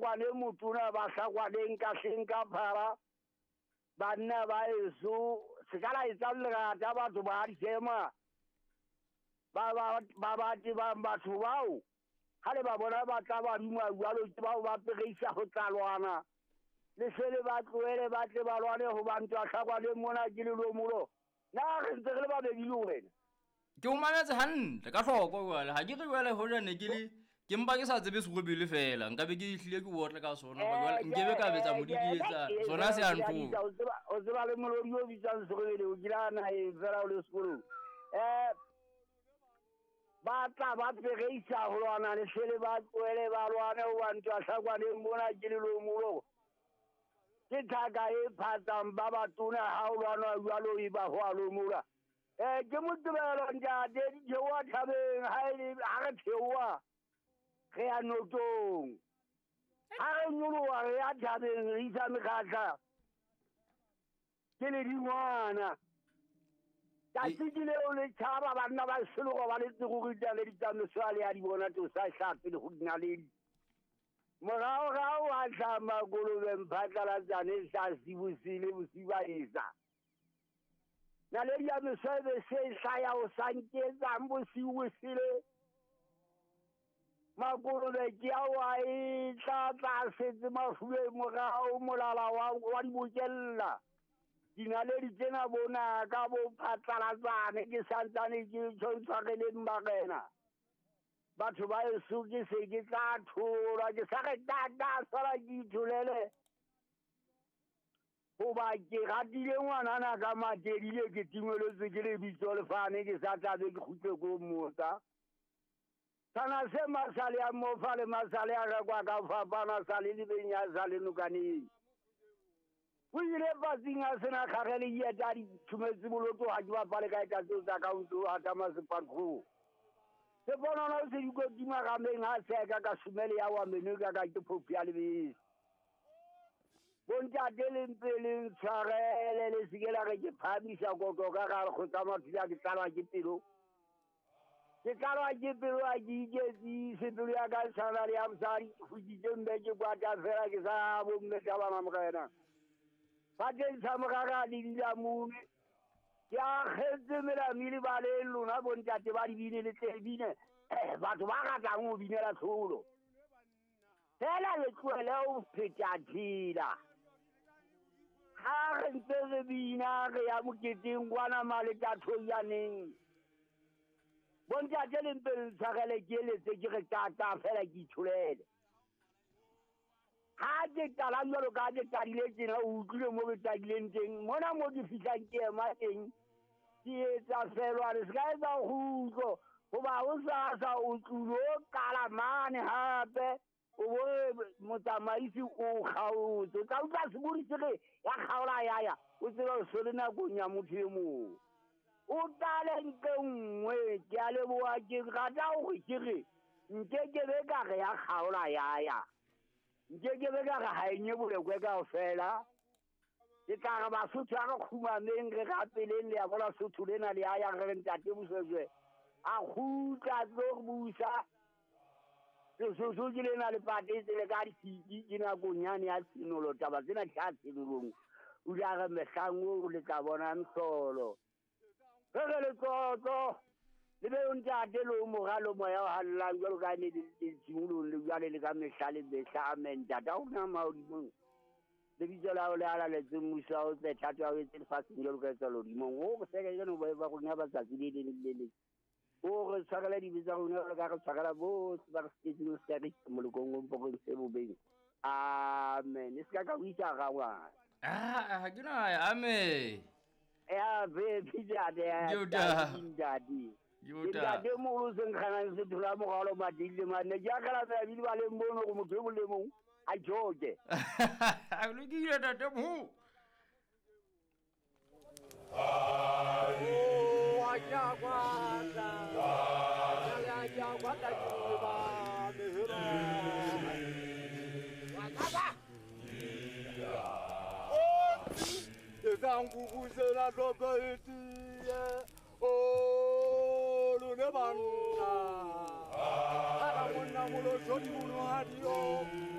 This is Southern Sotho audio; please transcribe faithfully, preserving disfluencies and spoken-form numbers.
Hlakwane motona ba Hlakwaneng ka hleng ka phara banna ba eso se ka la etsa lerata batho ba dikema ba ba ba ba tsebang batho bao ha le ba bona ba tla ba duma jwalo ke bao ba pereisa ho tlalwana le se le ba tlohele ba tle ba lwane ho ba ntwa Hlakwaneng mona ke lelomolo na re ntse re le babedi le wena. Ke o mametse hantle ka hloko jwale ha ke re jwale hoja ne ke le ke mpa ke sa tsebe serobele fela nka be ke hlile ke otle ka sona ba jwale nkebe ka betsa modidietsa sona se a ntho. O tseba o tseba le molodi o bitsang serobele o kila na e fela o le sekolong eh ba tla ba pereisa ho lwana le sele ba tlohele ba lwane ho ba ntwa Hlakwaneng mona ke lelomolo ke thaka e phatsang ba batona ha o lwana jwalo e ba ho a lomola. Eh ke Moqebelo ntate di theoha thabeng ha e ha re theoha re ya notong ha re nyoloha re ya thabeng re isa mekgatla ke le dingwana tsatsi ke leo le tjhaba banna ba selogo ba le tsego le ditsamaiso le ya di bona to sa hlape le go dinaledi morao rao a hlama kolobeng phatlalatsane sa sibosile bosiu ba esa naledi ya mesebe se hlaya o sa nketsang bosiu bosile makolobe ke ao a e tla tla setse mafube morao molala wa wa di bokella dinaledi tsena bona ka bo phatlalatsane ke santsane ke tshwareleng barena batho ba eso ke se ke tla thola ke sa re tata sala ke itholele hoba ke ratile ngwanana ka matedile ke timeletswe ke lebitso lefane ke sa tlabe ke kgutle ko mmotsa sana se masale a mofa le masale a rekwa ka fapana sa le lebeng ya sa le nokaneng o ile patsing a sena kgagele dieta di thumetse boloto ha ke bapale ka eta tseo tsa ka ntlo ha tama sepatlo se bonana se dikotima rameng ha seka ka shumele ya wa meno ka ka ke phofu ya lebese bontate le ntse le ntshwarele le se ke la re ke phamisa koto ka gare go tsamaya thula ke tlalwa ke pelo ke tlalwa ke pelo a ke iketsise pelo ya ka tshwana le ya mosadi ke futsitse mme ke kwata fela ke sa bomme ka bana morena fateng sa morara le dilamune ke akgetse melamile ba le lona bontate ba dibine le tle bine batho ba ratang ho binela tlholo fela le tlohele ho pheta thila ha re ntse re bina re ya moketeng kwana malethathoyaneng bontate le mpe le ntshwarele ke eletse ke re tata fela ke itholele ha ke qala jwalo ka ke qadile tjena o utlwile mo ke qadileng teng mona mo ke fihlang ke ema teng ke etsa felwane se ka etsa kgutlo hoba o sa sa o tlulo qala mane hape o bo motsamaisi o kgaotse o tla utlwa sebodi se re ya kgaola ya ya o tseba o se le nakong ya motho e mong o qale ntle nngwe ke a leboha ke rata hore ke re nke ke be ka re ya kgaola ya ya nke ke be ka re ha e nye bolekwe kaofela ke tla re Basotho a re kgumameng re rapeleng le ya bona Sotho lena le ya ya re ntate Moshoeshoe a kgutla a tlo re busa Sesotho ke lena le patetse le ka disiki ke nakong yane ya tshenolo taba tsena di tla tshenolong o ile a re mehlang oo le tla bona mehlolo re re letlotlo le be o ntate le o moralo moya o hallang jwalo ka ne le tshimolong le jwale le ka mehla le mehla amen tata o na mahodimong lebitso la hao le halaletse mmuso wa hao tle thato ya hao etse lefatsheng jwalo ka etsa lehodimong o re seke jeno ba ba rona ba tsatsi le leng le le leng o re tshwarela dibe tsa rona jwalo ka re tshwarela bohle ba re sitetseng o se ka re isa molokong o mpokong se bobeng amen e se ka ka o isa rangwana ah ha ke na amen ya be ntate ntate ntate moholo se nkganang se thola moralo matile mane ke akgela mabidi ba leng mono go motho e mong le mong a joke a lokile ntate moholo. O lone banna ha monna molo jodi mono ha dio